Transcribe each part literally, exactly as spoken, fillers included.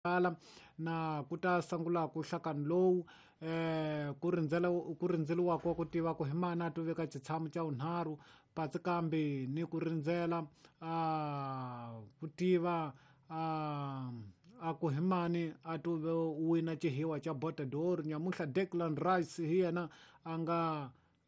Kala na ku ta sungula ku hlakani lowu eh ku rindzela ku rindzeliwa ku tiva ku hi mani a to veka xitshamo xa vunharhu patsi kambe ni ku rindzela a ku tiva a a ku hi mani a to wina xihiwa xa Bota d'Or. Nyamuhla Declan Rice hi yena a nga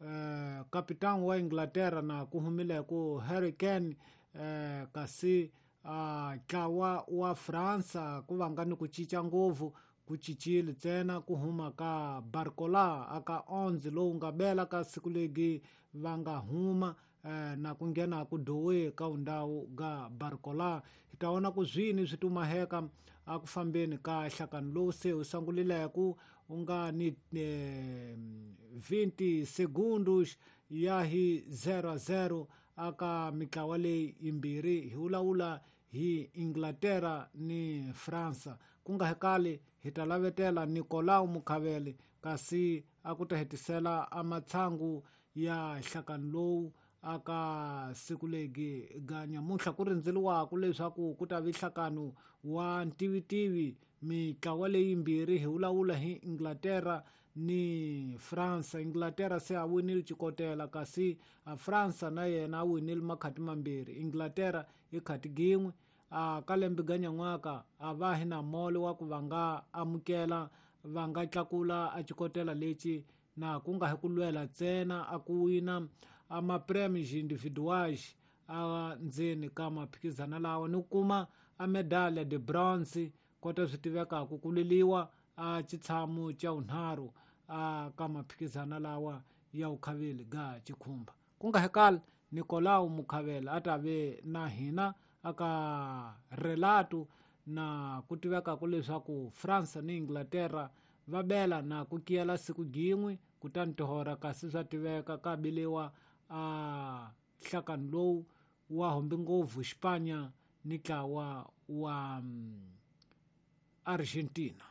eh kapitani wa Inglaterra na ku humile ku Harry Kane eh kasi a ntlawa wa Fransa ku vanga ni ku cinca ngopfu ku cincile ntsena ku huma ka Barcola aka onze lowu nga bela ka siku legi va nga huma eh, na ku nghena ku dowe ka undhawu ga Barcola. Hi ta vona ku zwini swi tumaheka a ku fambeni ka hlakani lowu se u sungulileko u nga ni eh, twenty segundos ya hi zero zero aka mitlawa leyi yimbirhi hi vulavula hi Inglaterra ni Fransa. Ku nga hekali hi ta lavetela Nicolau Mukhavele kasi a ku ta hetisela a matshangu ya hlakani lowu aka siku legi ga nyamuhla ku rindzeliwaku leswaku ku ta vi nhlakano wa ntivitivi mitlawa leyi yimbirhi hi vulavula hi Inglaterra ni Fransa. Inglaterra se a winile xikotela kasi a Fransa na yena a winile makhati mambirhi, Inglaterra i khati gin'we. A ka lembe ga nyan'waka a va hi na molo wa ku va nga amukela va nga tlakula a xikotela lexi na ku nga hi ku lwela ntsena a ku wina a ma-prêmios individuais a ndzeni ka maphikizana lawa ni ku kuma a medalha de bronze kota swi tivekaka ku lweliwa a xitshamo xa vunharhu a ka maphikizana lawa ya vukhaveli ga xikhumba. Ku nga hekali Nicolau Mukhavele a ta ve na hina aka relato na ku tivekaka leswaku France ni Inglaterra va bela na ku kiyela siku gin'we kutani tihora kasi swa tiveka ka beliwa a nhlakani lowu wa hombi ngopfu Xipanya ni ntlawa wa Argentina.